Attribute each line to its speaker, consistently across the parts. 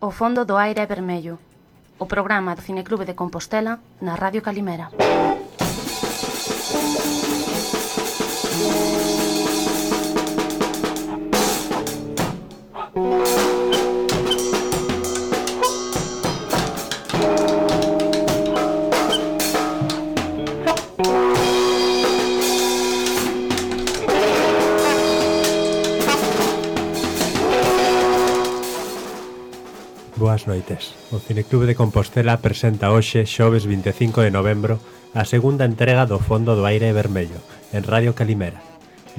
Speaker 1: O fondo do aire é vermello. O programa do Cineclube de Compostela na Radio Calimera.
Speaker 2: Boas noites. O Cineclube de Compostela presenta hoxe, xoves 25 de novembro, a segunda entrega do Fondo do Aire Vermello, en Radio Calimera.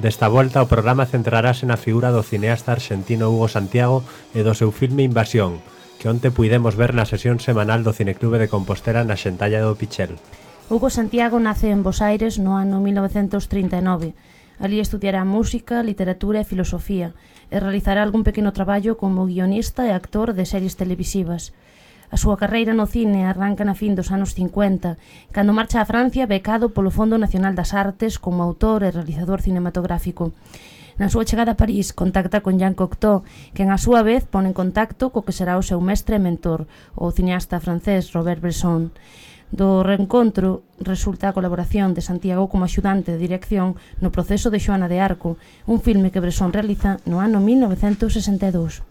Speaker 2: Desta volta, o programa centrarase na figura do cineasta arxentino Hugo Santiago e do seu filme Invasión, que onte puidemos ver na sesión semanal do Cineclube de Compostela na Xentalla do Pichel.
Speaker 1: Hugo Santiago nace en Bos Aires no ano 1939. Alí estudiará música, literatura e filosofía e realizará algún pequeno traballo como guionista e actor de series televisivas. A súa carreira no cine arranca na fin dos anos 50, cando marcha a Francia becado polo Fondo Nacional das Artes como autor e realizador cinematográfico. Na súa chegada a París contacta con Jean Cocteau, quen a súa vez pone en contacto co que será o seu mestre e mentor, o cineasta francés Robert Bresson. Do reencontro resulta a colaboración de Santiago como axudante de dirección no proceso de Xoana de Arco, un filme que Bresson realiza no ano 1962.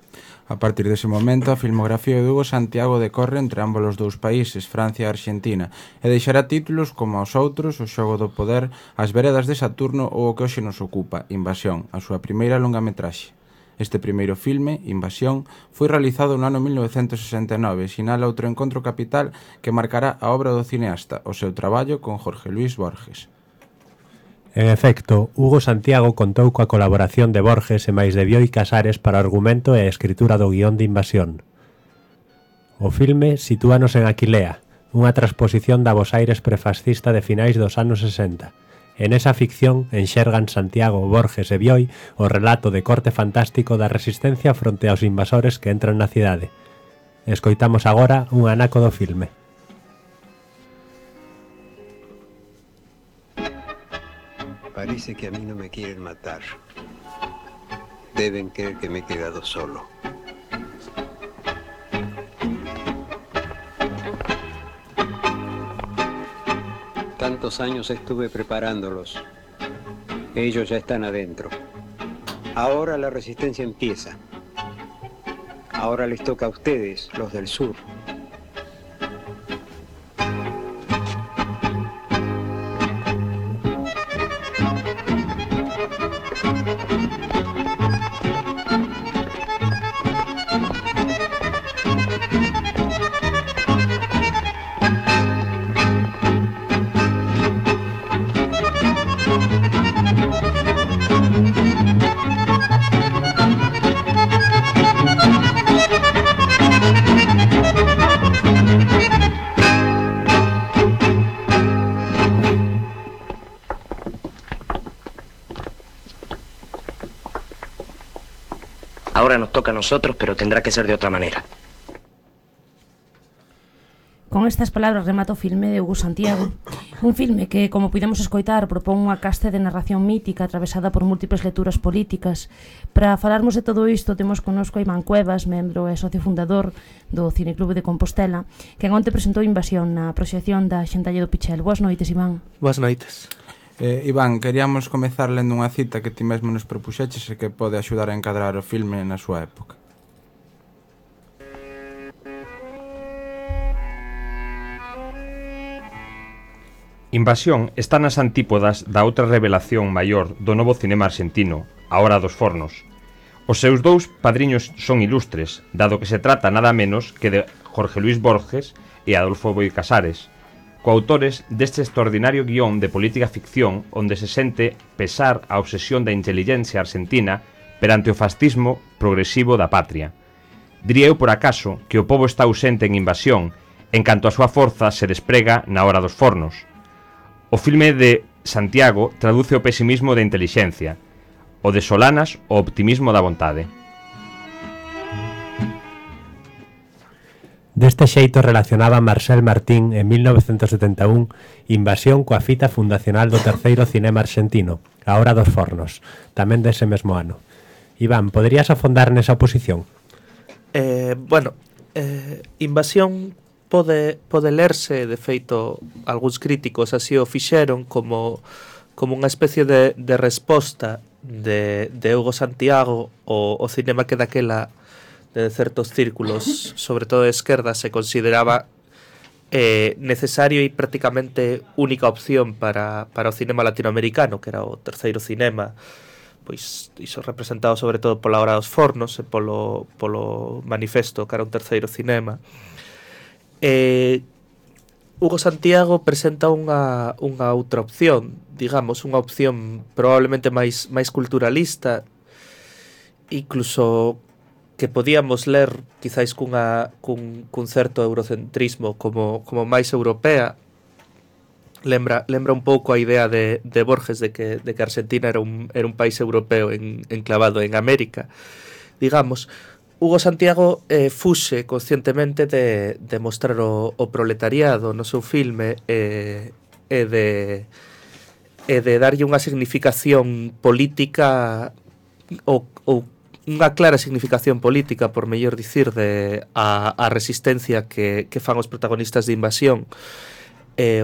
Speaker 3: A partir dese momento, a filmografía de Hugo Santiago decorre entre ambos os dous países, Francia e Arxentina, e deixará títulos como os outros, O xogo do poder, As veredas de Saturno ou o que hoxe nos ocupa, Invasión, a súa primeira longametraxe. Este primeiro filme, Invasión, foi realizado no ano 1969 e sinala outro encontro capital que marcará a obra do cineasta, o seu traballo con Jorge Luis Borges.
Speaker 2: En efecto, Hugo Santiago contou coa colaboración de Borges e máis de Bioy Casares para o argumento e a escritura do guión de Invasión. O filme sitúanos en Aquilea, unha transposición da Bos Aires prefascista de finais dos anos 60. En esa ficción enxergan Santiago, Borges e Bioy o relato de corte fantástico da resistencia fronte aos invasores que entran na cidade. Escoitamos agora un anaco do filme.
Speaker 4: Parece que a mí no me quieren matar. Deben creer que me he quedado solo. Tantos años estuve preparándolos. Ellos ya están adentro. Ahora la resistencia empieza. Ahora les toca a ustedes, los del sur.
Speaker 5: Ahora nos toca a nosotros, pero tendrá que ser de otra manera.
Speaker 1: Con estas palabras remata o filme de Hugo Santiago. Un filme que, como pudemos escoitar, propón unha caste de narración mítica atravesada por múltiples lecturas políticas. Para falarmos de todo isto, temos connosco a Iván Cuevas, membro e socio fundador do Cineclube de Compostela, que onte presentou Invasión na proxección da Xentalla do Pichel. Boas noites, Iván.
Speaker 6: Boas noites.
Speaker 3: Iván, queríamos comezar lendo unha cita que ti mesmo nos propuxeches e que pode axudar a encadrar o filme na súa época.
Speaker 7: Invasión está nas antípodas da outra revelación maior do novo cinema arxentino, A Hora dos Fornos. Os seus dous padriños son ilustres, dado que se trata nada menos que de Jorge Luis Borges e Adolfo Bioy Casares, coautores deste extraordinario guión de política ficción onde se sente pesar a obsesión da intelixencia argentina perante o fascismo progresivo da patria. Diría eu por acaso que o pobo está ausente en Invasión en canto a súa forza se desprega na Hora dos Fornos. O filme de Santiago traduce o pesimismo da intelixencia, o de Solanas o optimismo da vontade.
Speaker 2: Deste xeito relacionaba Marcel Martín en 1971 Invasión coa fita fundacional do terceiro cinema arxentino, A Hora dos Fornos, tamén dese mesmo ano. Iván, poderías afondar nesa oposición?
Speaker 6: Bueno, Invasión pode lerse, de feito, algúns críticos así o fixeron como unha especie de resposta de Hugo Santiago o cinema que daquela de certos círculos, sobre todo de esquerda, se consideraba necesario e prácticamente única opción para o cinema latinoamericano, que era o terceiro cinema, pois iso representado sobre todo pola Hora dos Fornos e polo Manifesto, que era un terceiro cinema. Hugo Santiago presenta unha outra opción, digamos, unha opción probablemente máis culturalista, incluso que podíamos ler quizáis cun certo eurocentrismo como máis europea. Lembra un pouco a idea de Borges de que Argentina era un país europeo enclavado en América, digamos. Hugo Santiago fuxe conscientemente de mostrar o proletariado no seu filme e de darlle unha significación política ou unha clara significación política, por mellor dicir, a resistencia que fan os protagonistas de Invasión.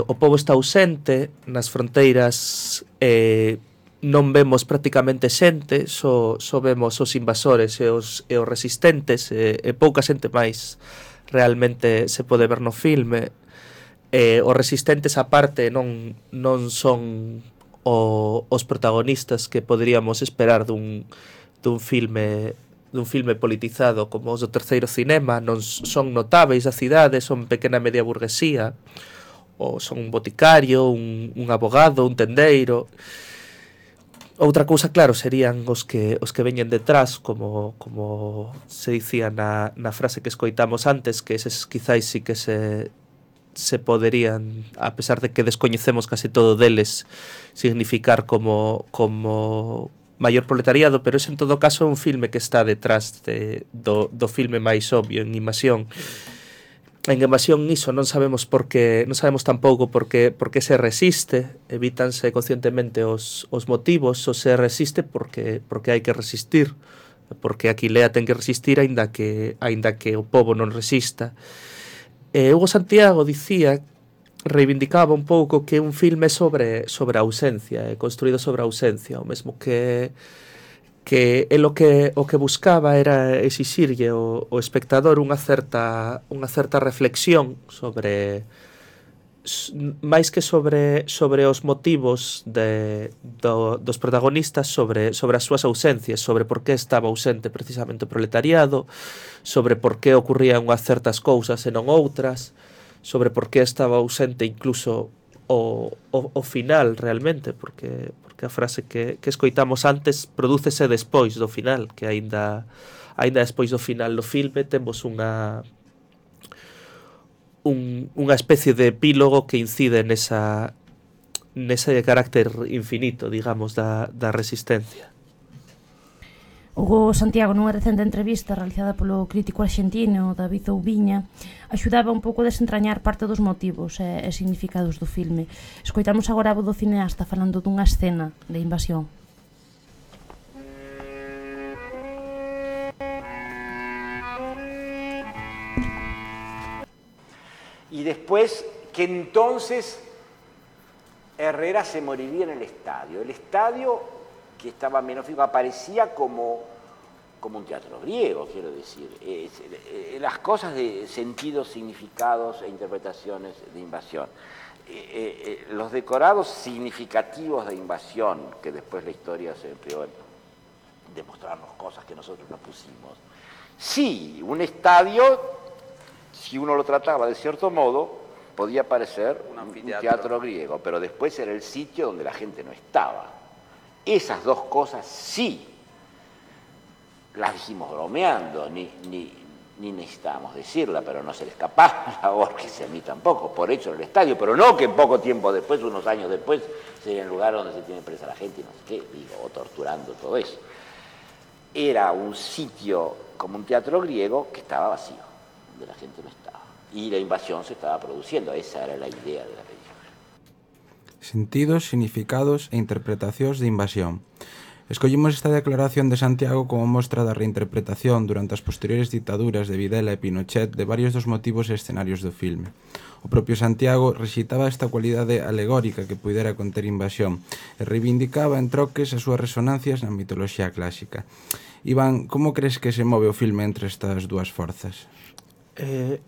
Speaker 6: O pobo está ausente nas fronteiras, non vemos prácticamente xente, só vemos os invasores e os resistentes, e pouca xente máis realmente se pode ver no filme. Os resistentes aparte non son os protagonistas que poderíamos esperar dun filme politizado como os do terceiro cinema. Non son notáveis da cidade, son pequena media burguesía, ou son un boticario, un abogado, un tendeiro. Outra cousa, claro, serían os que veñen detrás, como se dicía na frase que escoitamos antes, que eses quizáis sí que se poderían, a pesar de que descoñecemos case todo deles, significar como maior proletariado, pero ese en todo caso é un filme que está detrás do filme máis obvio, en Invasión. En Invasión iso non sabemos tampouco por que se resiste, evítanse conscientemente os motivos, ou se resiste porque hai que resistir, porque a Aquilea ten que resistir aínda que o pobo non resista. Hugo Santiago reivindicaba un pouco que un filme sobre a ausencia, construído sobre a ausencia, o mesmo que el o que buscaba era exixirlle o espectador unha certa reflexión sobre, máis que sobre os motivos dos protagonistas, sobre as súas ausencias, sobre por que estaba ausente precisamente o proletariado, sobre por que ocurrían unhas certas cousas e non outras, sobre por que estaba ausente incluso o final realmente, porque a frase que escoitamos antes prodúcese despois do final, que aínda despois do final do filme temos unha especie de epílogo que incide nese carácter infinito, digamos, da resistencia.
Speaker 1: Hugo Santiago, nunha recente entrevista realizada polo crítico arxentino David Oubiña, axudaba un pouco a desentrañar parte dos motivos e significados do filme. Escoitamos agora a voz do cineasta falando dunha escena de Invasión.
Speaker 8: Y después que entonces Herrera se moriría en el estadio. El estadio, que estaba menos fijo, aparecía como un teatro griego, quiero decir. Las cosas de sentidos, significados e interpretaciones de Invasión. Los decorados significativos de Invasión, que después la historia se empleó en demostrarnos cosas que nosotros no pusimos. Sí, un estadio, si uno lo trataba de cierto modo, podía parecer un teatro griego, pero después era el sitio donde la gente no estaba. Esas dos cosas sí las dijimos bromeando, ni necesitábamos decirla, pero no se le escapaba a Borges y a mí tampoco, por hecho en el estadio, pero no que poco tiempo después, unos años después, sería el lugar donde se tiene presa la gente y no sé qué, o torturando todo eso. Era un sitio como un teatro griego que estaba vacío, donde la gente no estaba. Y la invasión se estaba produciendo, esa era la idea de la película.
Speaker 3: Sentidos, significados e interpretacións de Invasión. Escollimos esta declaración de Santiago como mostra da reinterpretación durante as posteriores dictaduras de Videla e Pinochet de varios dos motivos e escenarios do filme. O propio Santiago rexitaba esta cualidade alegórica que puidera conter Invasión e reivindicaba en troques as súas resonancias na mitoloxía clásica. Iván, como crees que se move o filme entre estas dúas forzas?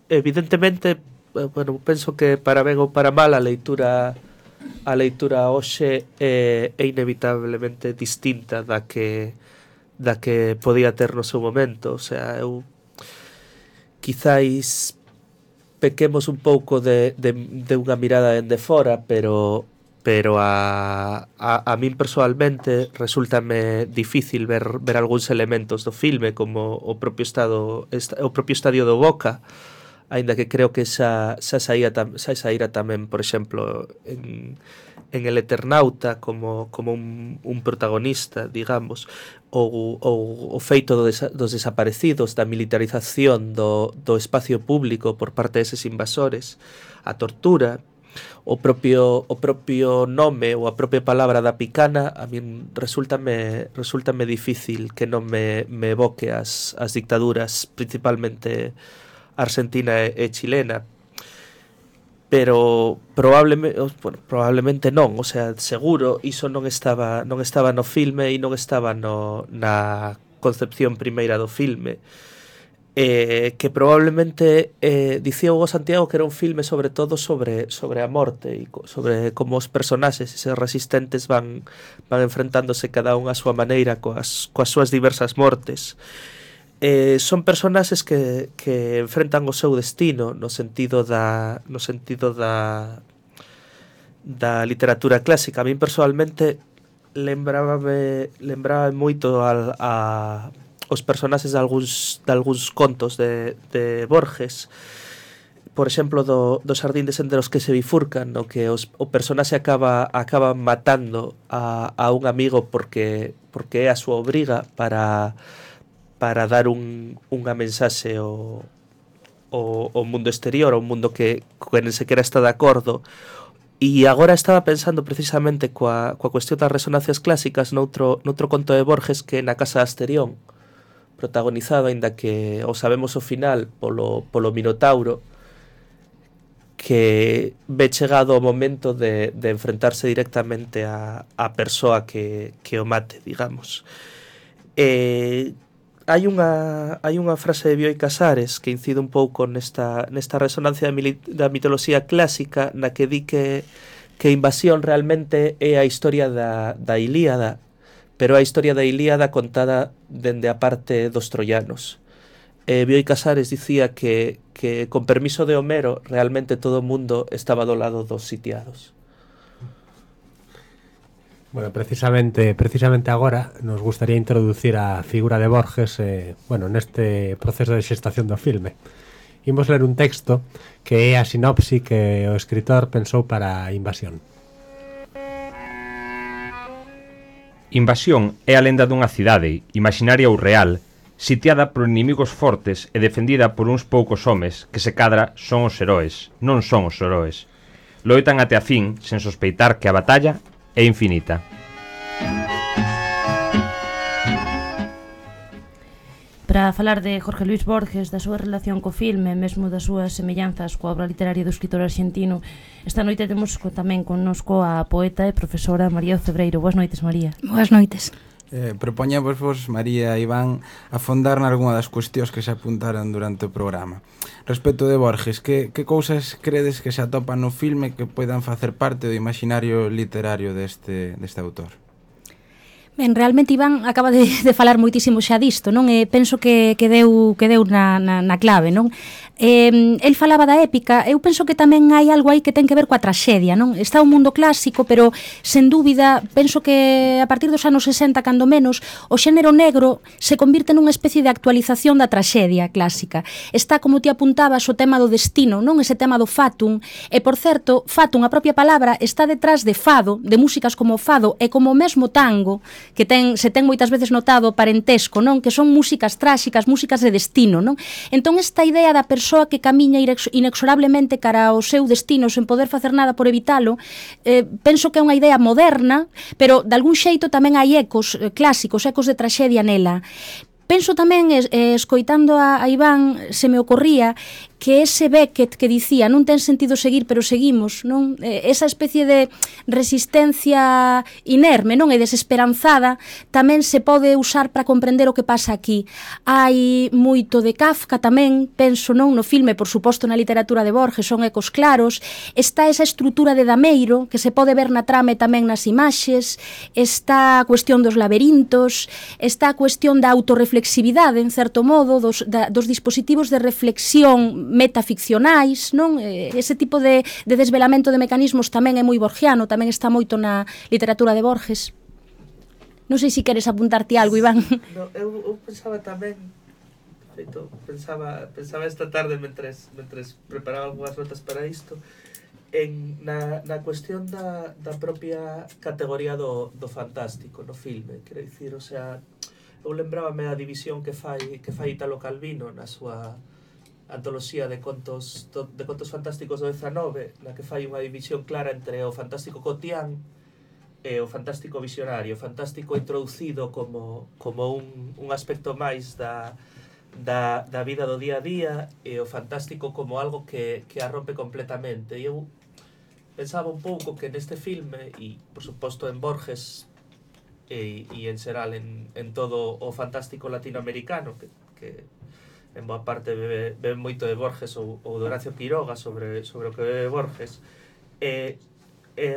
Speaker 6: Evidentemente, bueno, penso que para ben ou para mal a leitura hoxe é inevitablemente distinta da que podía ter no seu momento. O sea, eu quizáis pequemos un pouco de unha mirada dende fora, pero a min personalmente resultame difícil ver algúns elementos do filme, como o propio estadio do Boca, aínda que creo que xa saíra tamén, por exemplo, en El Eternauta como un protagonista, digamos, ou o feito dos desaparecidos, da militarización do espacio público por parte deses invasores, a tortura, o propio nome ou a propia palabra da picana, a min resultame difícil que non me evoque as dictaduras, principalmente argentina e chilena, pero probablemente non, o sea, seguro iso non estaba no filme e non estaba na concepción primeira do filme, que probablemente dicía Hugo Santiago que era un filme sobre todo sobre a morte e sobre como os personaxes eses resistentes van enfrentándose cada un a súa maneira coas súas diversas mortes. Son personaxes que enfrentan o seu destino no sentido da literatura clásica. A min personalmente lembraba moito os personaxes de algúns contos de Borges, por exemplo do Xardín de senderos que se bifurcan, no que o personaxe acaba matando a un amigo porque é a súa obriga para dar unha mensaxe ao mundo exterior, ao mundo que non se quera estar de acordo. E agora estaba pensando precisamente coa cuestión das resonancias clásicas noutro conto de Borges, que é Na casa de Asterión, protagonizado, aínda que o sabemos o final, polo Minotauro, que ve chegado o momento de enfrentarse directamente a persoa que o mate, digamos. Hai unha frase de Bioy Casares que incide un pouco nesta resonancia da mitoloxía clásica, na que di que Invasión realmente é a historia da Ilíada, pero a historia da Ilíada contada dende a parte dos troianos. Bioy Casares dicía que con permiso de Homero realmente todo o mundo estaba do lado dos sitiados.
Speaker 2: Bueno, precisamente agora nos gustaría introducir a figura de Borges neste proceso de xestación do filme. Imos ler un texto que é a sinopse que o escritor pensou para Invasión.
Speaker 7: Invasión é a lenda dunha cidade, imaginaria ou real, sitiada por inimigos fortes e defendida por uns poucos homes que se cadra son os heróis, non son os heróis. Loitan até a fin, sen sospeitar que a batalla é infinita.
Speaker 1: Para falar de Jorge Luis Borges, da súa relación co filme, mesmo das súas semellanzas coa obra literaria do escritor arxentino, esta noite temos tamén connosco a poeta e profesora María Ocebreiro. Boas noites, María.
Speaker 9: Boas noites.
Speaker 3: Propoñamos vos, María e Iván, afondar nalgúna das cuestións que se apuntaron durante o programa. Respecto de Borges, que cousas credes que se atopan no filme que poidan facer parte do imaginario literario deste autor?
Speaker 9: Ben, realmente Iván acaba de falar moitísimo xa disto, non? Penso que deu na clave, non? El falaba da épica, eu penso que tamén hai algo aí que ten que ver coa traxedia, non? Está o mundo clásico, pero sen dúbida, penso que a partir dos anos 60, cando menos, o xénero negro se convirte nunha especie de actualización da traxedia clásica. Está, como ti apuntabas, o tema do destino, non? Ese tema do fatum, e por certo, fatum, a propia palabra, está detrás de fado, de músicas como o fado e como o mesmo tango, que se ten moitas veces notado parentesco, non? Que son músicas tráxicas, músicas de destino, non? Entón esta idea da persoa persoa que camiña inexorablemente cara ao seu destino sen poder facer nada por evitalo, penso que é unha idea moderna, pero de algún xeito tamén hai ecos clásicos, ecos de traxedia nela. Penso tamén, escoitando a Iván, se me ocorría que ese Beckett que dicía non ten sentido seguir, pero seguimos, non? Esa especie de resistencia inerme, non? E desesperanzada tamén se pode usar para comprender o que pasa aquí. Hai moito de Kafka tamén, penso, non? No filme, por suposto, na literatura de Borges, son ecos claros. Está esa estrutura de Dameiro, que se pode ver na trama e tamén nas imaxes. Está a cuestión dos laberintos, está a cuestión da autorreflexividade, en certo modo, dos dispositivos de reflexión metaficcionais, non? Ese tipo de desvelamento de mecanismos tamén é moi borgiano, tamén está moito na literatura de Borges. Non sei se queres apuntarte algo, Iván.
Speaker 6: No, eu pensaba tamén, feito, pensaba esta tarde mentres preparaba algunhas notas para isto, na cuestión da propia categoría do fantástico no filme, quero dicir, o sea, eu lembrábame a división que fai Italo Calvino na súa antoloxía de contos fantásticos do XIX, na que fai unha división clara entre o fantástico cotián e o fantástico visionario, o fantástico introducido como un aspecto máis da vida do día a día, e o fantástico como algo que a rompe completamente. E eu pensaba un pouco que neste filme, e por suposto en Borges e en xeral en todo o fantástico latinoamericano, que en boa parte bebe moito de Borges ou de Horacio Quiroga sobre o que bebe Borges,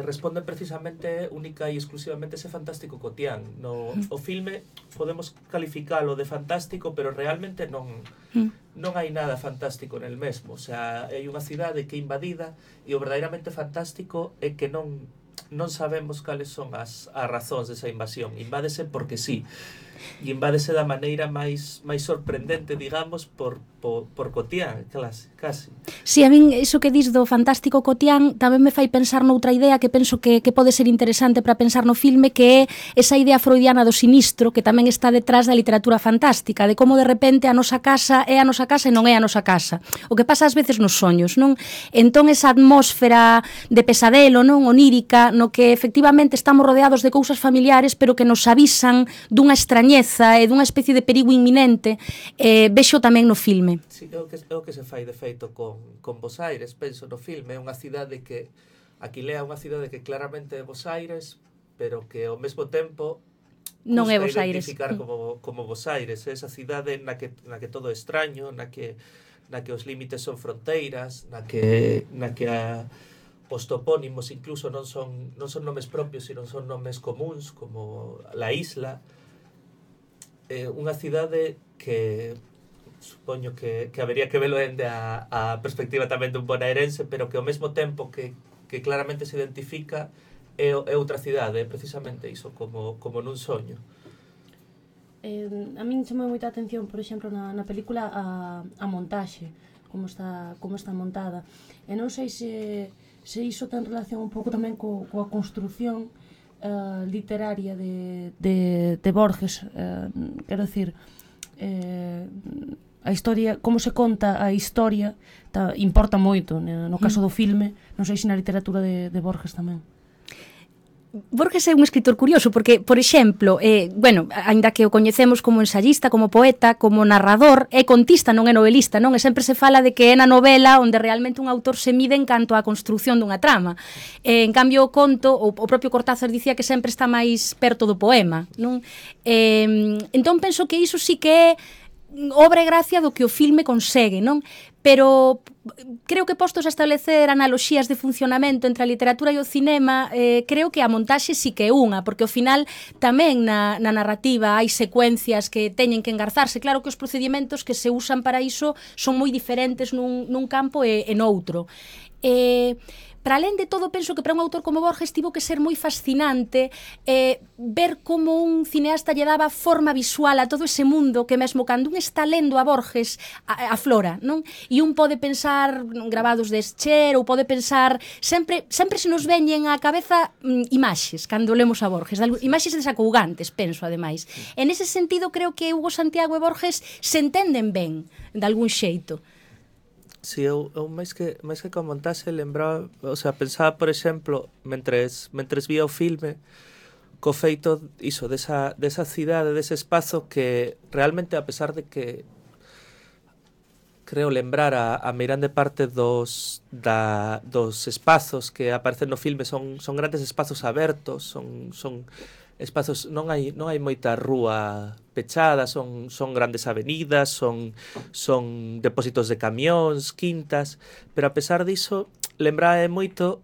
Speaker 6: responden precisamente única e exclusivamente ese fantástico cotián. O filme podemos calificalo de fantástico, pero realmente non hai nada fantástico nel mesmo. O sea, hai unha cidade que é invadida e o verdadeiramente fantástico é que non sabemos cales son as razóns desa invasión. Invádese porque sí. E invádese da maneira máis sorprendente, digamos, por cotián, casi.
Speaker 9: Si, a min iso que dis do fantástico cotián tamén me fai pensar noutra idea que penso que pode ser interesante para pensar no filme, que é esa idea freudiana do sinistro que tamén está detrás da literatura fantástica, de como de repente a nosa casa é a nosa casa e non é a nosa casa. O que pasa ás veces nos soños, non? Entón esa atmósfera de pesadelo, non? Onírica, no que efectivamente estamos rodeados de cousas familiares, pero que nos avisan dunha extrañeza e dunha especie de perigo inminente, vexo tamén no filme.
Speaker 6: Sí, é o que se fai de feito con Bos Aires, penso no filme. É unha cidade que Aquilea é unha cidade que claramente é Bos Aires, pero que ao mesmo tempo
Speaker 9: non é Bos Aires.
Speaker 6: Identificar como Bos Aires. É esa cidade na que todo é extraño, na que os límites son fronteiras, na que os topónimos incluso non son nomes propios, sino son nomes comuns, como la isla. Unha cidade que supoño que habería que velo dende a perspectiva tamén dun bonaerense, pero que ao mesmo tempo que claramente se identifica é outra cidade, é precisamente iso, como nun soño.
Speaker 1: A min chamou moita atención, por exemplo, na película a montaxe, como está montada. E non sei se iso ten relación un pouco tamén coa construción literaria de Borges, quero dicir, a historia, como se conta a historia importa moito no caso do filme, non sei se na literatura de Borges tamén.
Speaker 9: Borges é un escritor curioso porque, por exemplo, aínda que o coñecemos como ensayista, como poeta, como narrador, é contista, non é novelista, non? E sempre se fala de que é na novela onde realmente un autor se mide en canto á construción dunha trama. En cambio, o conto, o propio Cortázar dicía que sempre está máis perto do poema, non? Entón penso que iso sí que é obra e gracia do que o filme consegue, non? Pero creo que postos a establecer analoxías de funcionamento entre a literatura e o cinema, creo que a montaxe sí que é unha, porque ao final tamén na narrativa hai secuencias que teñen que engarzarse. Claro que os procedimentos que se usan para iso son moi diferentes nun campo e noutro. Para alén de todo, penso que para un autor como Borges tivo que ser moi fascinante ver como un cineasta lle daba forma visual a todo ese mundo que mesmo cando un está lendo a Borges aflora, non? E un pode pensar grabados de Escher ou pode pensar sempre se nos veñen á cabeza imaxes cando lemos a Borges, imaxes desacougantes, penso ademais. En ese sentido creo que Hugo Santiago e Borges se entenden ben de algún xeito.
Speaker 6: Si eu máis que con montaxe lembraba, o sea, pensaba, por exemplo, mentres vía o filme, co feito iso desa cidade, dese espazo que realmente, a pesar de que creo lembrar a meirande parte dos espazos que aparecen no filme son grandes espazos abertos, son espazos, non hai moita rúa pechada, son grandes avenidas, son depósitos de camións, quintas, pero a pesar diso lembraba moito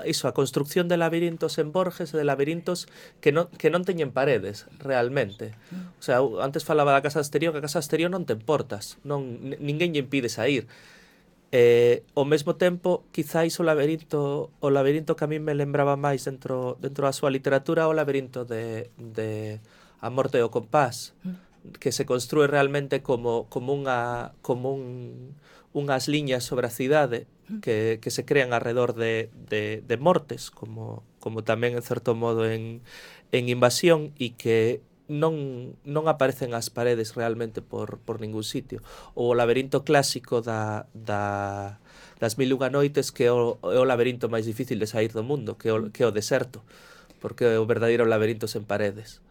Speaker 6: iso, a construcción de labirintos en Borges, de labirintos que non teñen paredes realmente. O sea, antes falaba da casa exterior, que a casa exterior non ten portas, ninguén lle impide sair. Ao mesmo tempo, quizáis o labirinto que a mí me lembraba máis dentro da súa literatura, o labirinto de A morte e o compás, que se construe realmente como unhas liñas sobre a cidade que se crean alrededor de mortes, como tamén en certo modo en Invasión, e que non aparecen as paredes realmente por ningún sitio. O laberinto clásico das Mil e unha noites, que é o laberinto máis difícil de sair do mundo, que é o deserto, porque é o verdadeiro laberinto sen paredes.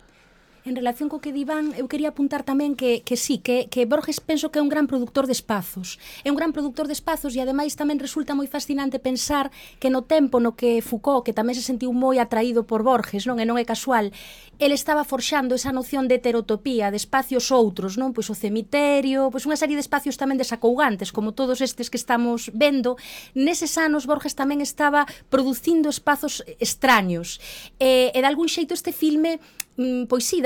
Speaker 9: En relación co que di Iván, eu quería apuntar tamén que sí, que Borges penso que é un gran productor de espazos. É un gran productor de espazos e ademais tamén resulta moi fascinante pensar que no tempo no que Foucault, que tamén se sentiu moi atraído por Borges, non? E non é casual, ele estaba forxando esa noción de heterotopía, de espacios outros, non? Pois o cemiterio, pois unha serie de espacios tamén desacougantes, como todos estes que estamos vendo. Neses anos Borges tamén estaba producindo espazos extraños. E de algún xeito este filme pois sí,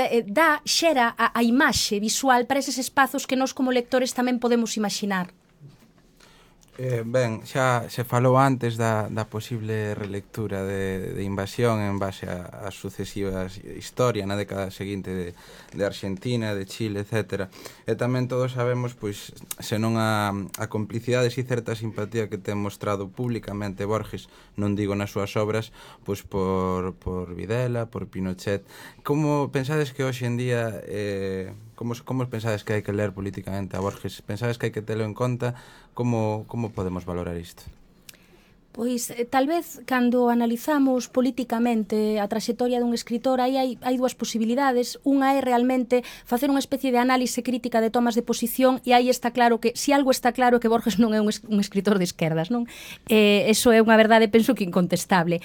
Speaker 9: xera a imaxe visual para eses espazos que nós como lectores tamén podemos imaginar.
Speaker 3: Ben, xa se falou antes da posible relectura de Invasión en base ás sucesivas historias na década seguinte de Argentina, de Chile, etc. E tamén todos sabemos, pois, senón a complicidade e certa simpatía que ten mostrado públicamente Borges, non digo nas súas obras, pois por Videla, por Pinochet. Como pensades que hoxe en día como pensades que hai que ler políticamente a Borges? Pensades que hai que telo en conta? Como podemos valorar isto?
Speaker 9: Pois, tal vez, cando analizamos políticamente a traxectoria dun escritor, aí hai dúas posibilidades. Unha é realmente facer unha especie de análise crítica de tomas de posición, e aí está claro que, se algo está claro, que Borges non é un escritor de esquerdas, non? Eso é unha verdade, penso que incontestable.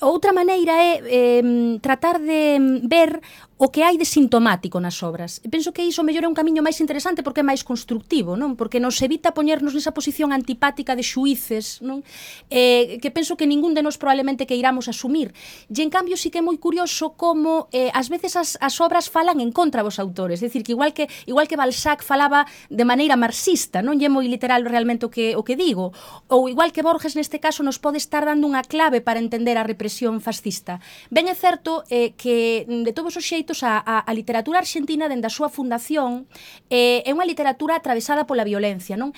Speaker 9: Outra maneira é tratar de ver o que hai de sintomático nas obras. Penso que iso mellor é un camiño máis interesante porque é máis constructivo, non? Porque nos evita poñernos nesa posición antipática de xuíces, non? Que penso que ningún de nós probablemente que iramos asumir. E en cambio sí que é moi curioso como ás veces as obras falan en contra dos autores, é dicir, que igual que Balzac falaba de maneira marxista, non lle moi literal realmente o que digo, ou igual que Borges neste caso nos pode estar dando unha clave para entender a represión fascista. Ben é certo que de todos os xeitos a literatura argentina dende a súa fundación é unha literatura atravesada pola violencia, non?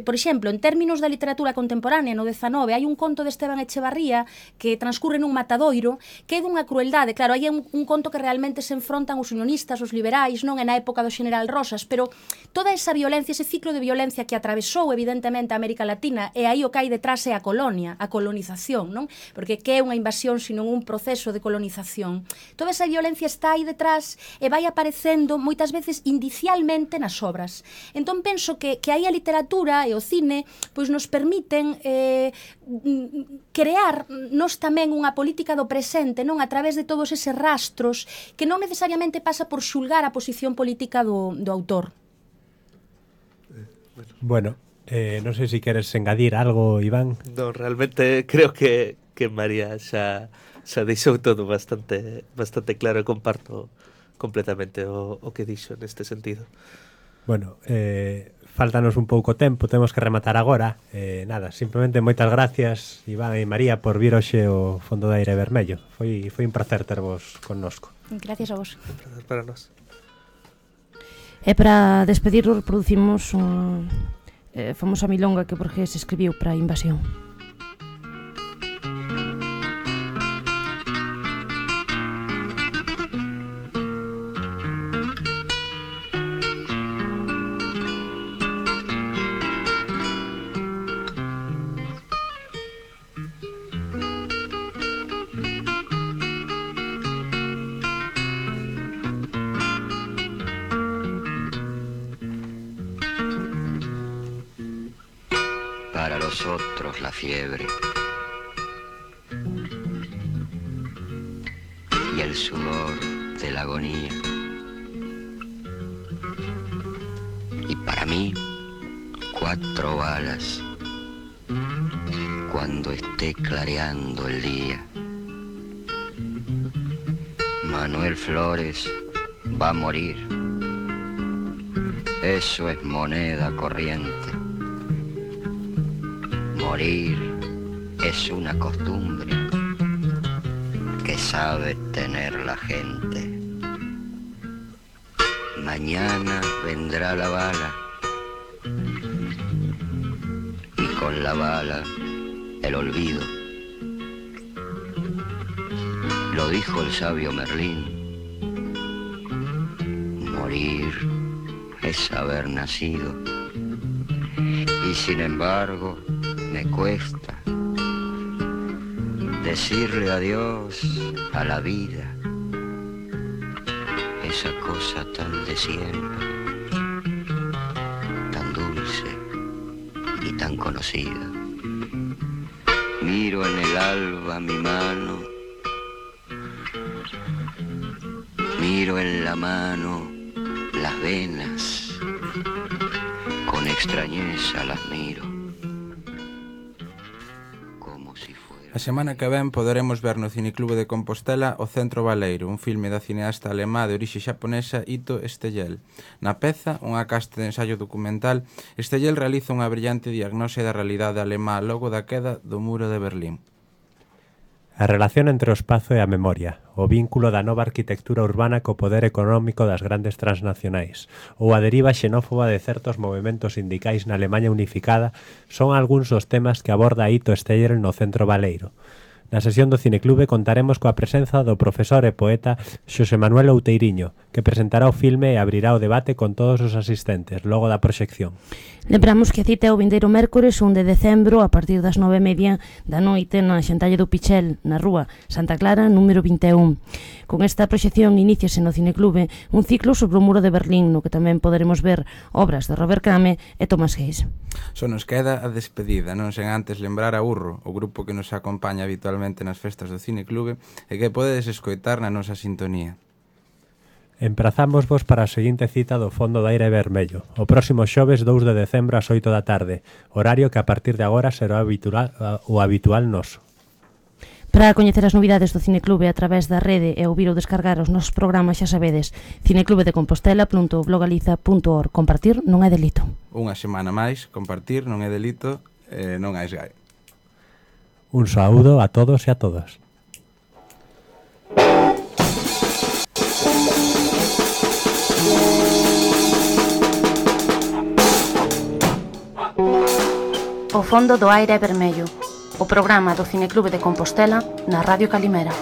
Speaker 9: Por exemplo, en términos da literatura contemporánea no 19 hai un conto de Esteban Echevarría que transcurre nun matadoiro que é dunha crueldade. Claro, hai un conto que realmente se enfrontan os unionistas, os liberais, non? É na época do General Rosas, pero toda esa violencia, ese ciclo de violencia que atravesou evidentemente a América Latina, e aí o que hai detrás é a colonia, a colonización, non? Porque que é unha invasión senón un proceso de colonización. Toda esa violencia está aí detrás e vai aparecendo moitas veces indicialmente nas obras. Entón penso que aí a literatura e o cine pois nos permiten crear nos tamén unha política do presente, non? A través de todos eses rastros que non necesariamente pasa por xulgar a posición política do autor.
Speaker 2: Bueno, non sei se queres engadir algo, Iván.
Speaker 6: Non, realmente creo que María xa deixou todo bastante claro, e comparto completamente o que dixo neste sentido.
Speaker 2: Bueno, faltanos un pouco tempo, temos que rematar agora. Nada, simplemente moitas gracias, Iván e María, por vir hoxe ao Fondo de Aire Vermello. Foi un placer tervos connosco.
Speaker 9: Gracias a vos.
Speaker 6: Un placer para nós.
Speaker 1: E para despedirnos producimos unha famosa milonga que Borges escribiu para a Invasión.
Speaker 10: para los otros la fiebre y el sudor de la agonía. Y para mí, 4 balas cuando esté clareando el día. Manuel Flores va a morir. Eso es moneda corriente. Morir es una costumbre que sabe tener la gente. Mañana vendrá la bala y con la bala el olvido. Lo dijo el sabio Merlín. Morir es haber nacido. Y sin embargo me cuesta decirle adiós a la vida, esa cosa tan de siempre, tan dulce y tan conocida. Miro en el alba mi mano, miro en la mano las venas, con extrañeza las miro.
Speaker 3: A semana que ven poderemos ver no Cineclube de Compostela O Centro Baleiro, un filme da cineasta alemá de orixe xaponesa Ito Estellel. Na peza, unha casta de ensaio documental, Estellel realiza unha brillante diagnose da realidade alemá logo da queda do muro de Berlín.
Speaker 2: A relación entre o espazo e a memoria, o vínculo da nova arquitectura urbana co poder económico das grandes transnacionais ou a deriva xenófoba de certos movementos sindicais na Alemanha unificada son algúns dos temas que aborda Ito Estellel no Centro Baleiro. Na sesión do Cineclube contaremos coa presenza do profesor e poeta Xosé Manuel Outeiriño, que presentará o filme e abrirá o debate con todos os asistentes logo da proxección.
Speaker 1: Lembramos que a cita é o vindeiro mércores 1 de decembro a partir das 9:30 da noite na Xantalle do Pichel, na rúa Santa Clara, número 21. Con esta proxección iníciase no Cineclube un ciclo sobre o muro de Berlín, no que tamén poderemos ver obras de Robert Crumb e Thomas Hayes.
Speaker 3: Só nos queda a despedida, non sen antes lembrar a Urro, o grupo que nos acompaña habitualmente nas festas do Cineclube e que podedes escoitar na nosa sintonía.
Speaker 2: Emprazámosvos para a seguinte cita do Fondo de Aire Vermello, o próximo xoves 2 de decembro ás 8 da tarde, horario que a partir de agora será o habitual noso.
Speaker 1: Para coñecer as novidades do Cineclube a través da rede e ouvir ou descargar os nosos programas, xa sabedes, cineclubedecompostela.blogaliza.org. Compartir non é delito.
Speaker 3: Unha semana máis, compartir non é delito, non hai esgai.
Speaker 2: Un saúdo a todos e a todas.
Speaker 1: O Fondo do Aire Vermello, o programa do Cineclube de Compostela na Radio Calimera.